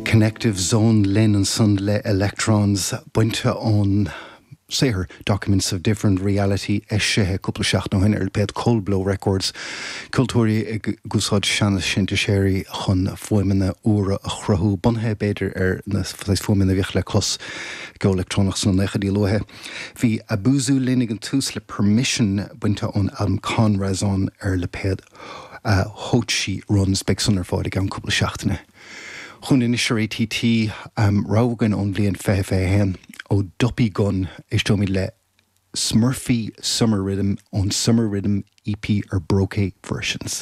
Connective Zone linn ansan le Electrons bainte ón saothar Documents of Different Reality eisithe cúpla seachtain ó shin ar lipéad Cold Blow Records. Ceoltóirí ag úsáid seana-shintiséirí chun fuaimeanna úra a chruthú, bunaithe b'fhéidir ar na saghas fuaimeanna a bhíodh le clos i gceol leictreonach sna naochaidí luaithe. Bhí Abuzu linn ag an tús le Permission bainte ón albam Con Razon ar lipéad Hochi Runs. Beidh san ar fáil i gceann cúpla seachtaine. Chugainn anois ar ATT, rogha againn ón bhliain 2021 ó Duppy Gun. Éisteoimid le Smurfy Summer Riddim ón Summer Riddim EP ar Brokey Versions.